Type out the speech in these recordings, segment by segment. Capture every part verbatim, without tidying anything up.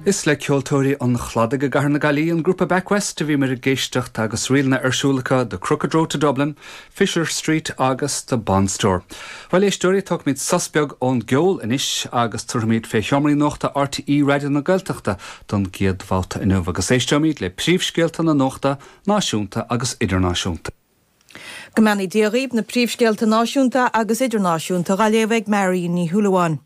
Is le ceoltóirí an Chladaigh i gCathair na Gaillimhe an grúpa Back West a bhíomar ag éisteacht agus ríleanna ar siúl acu The Crooked Road to Dublin, Fisher Street agus The Bond Store. Bhuel éisteoirí tógfaimid sos beag ón gceol anois agus tabharfaimid fé sheomraí nuachta RTÉ Raidió na Gaeltachta don gcéad bhabhta inniu agus éisteoimid le príomhscéalta na nuachta náisiúnta agus idirnáisiúnta. Go mbeannaí Dia dhaoibh na príomhscéalta náisiúnta agus idirnáisiúnta á léamh ag Mary Ní Shúilleabháin.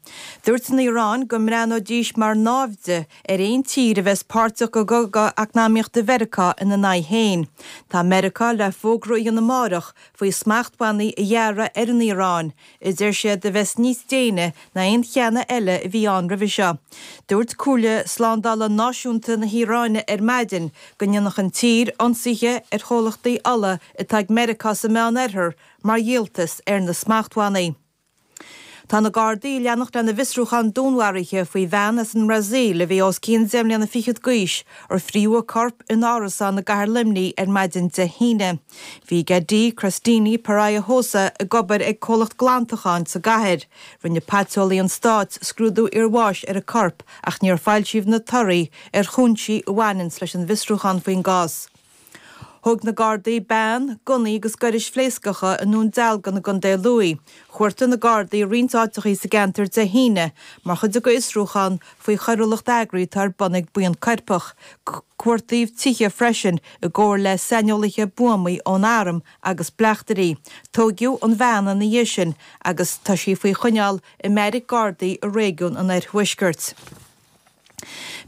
Dúirt an Iaráin go mbreathnóidís mar naimhde ar aon tír a bheas páirteach i gcogadh eacnamaíochta Mheiriceá ina n-aghaidh féin. Tá Meiriceá le fógra a dhéanamh amárach faoi smachtbhannaí a ghearradh ar an Iaráin, a deir siad a bheas níos déine ná aon cheann eile a bhí ann roimhe seo. Dúirt Comhairle Slándála Náisiúnta na hIaráine ar maidin go ndéanfadh an tír ionsaithe ar chomhlachtaí ola atá ag Meiriceá sa Meánoirthear mar dhíoltas ar na smachtbhannaí. Tá na Gardaí ag leanacht lena bhfiosrúchán dúnmharaithe faoi bhean as an mBrasaíl a bhí os cionn deich mbliana fichead d'aois ar fríothadh a corp in árasán i gcathair Luimnigh ar maidin Dé hAoine. Bhí Gadi Cristini Pereira Rosa ag obair ag comhlacht glantacháin sa gcathair. Rinne paiteolaí an stáit scrúdú iarbháis ar a corp ach níor foilsíodh na torthaí ar chúinsí a bhaineann leis an bhfiosrúchán faoin gcás. Thóg na Gardaí bean, gunnaí agus gairis phléascacha i nDún Dealgan i gContae Lú. Chuartaigh na Gardaí roinnt áiteachaí sa gceantar Dé hAoine mar chuid de fhiosrúchán faoi choiriúlacht eagraithe atá ar bun ag buíon coirpeach. Cuartaíodh tithe freisin i gcomhar le saineolaithe buamaí ón arm agus bleachtairí. Tóigeadh an bhean ina dhiaidh sin agus tá sí faoi choinneáil i mbeairic Gardaí i réigiún an Oirthuaiscirt.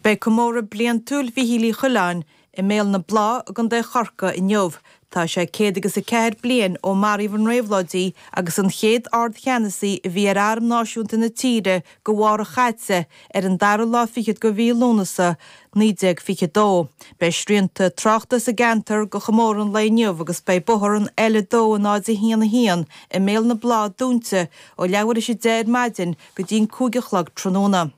Beidh comóradh bliantúil Mhichíl Uí Choileáin i mBéal na Blá i gContae Chorcaí inniu. Tá sé céad agus a ceathair bliain ó maraíodh an réabhlóidí agus an chéad ardcheannasaí a bhí ar arm náisiúnta na tíre go bharr a chaite ar an dara lá fichead de mhí Lúnasa naoi déag fiche dó. Beidh srianta tráchta sa gceantar do chomóradh an lae inniu agus beidh bóthar an L a dó náid a haon a haon i mBéal na Blá dúnta ó leathuair tar éis a deich ar maidin go dtí an cúig a chlog tráthnóna.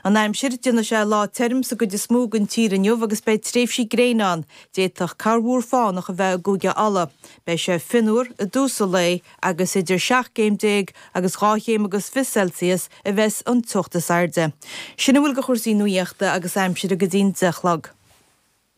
An aimsir déanfaidh sé lá tirim sa gcuid is mó den tír inniu agus beidh tréimhsí gréine ann. D'fhéadfadh corrmhúr fánach a bheith i gCúige Uladh. Beidh sé fionnuar i dtús an lae agus idir seacht gcéim déag agus dhá chéim agus fiche Celsius a bheas an teocht is airde. Sin a bhfuil de chúrsaí nuachta agus aimsire go dtí'n deich a chlog.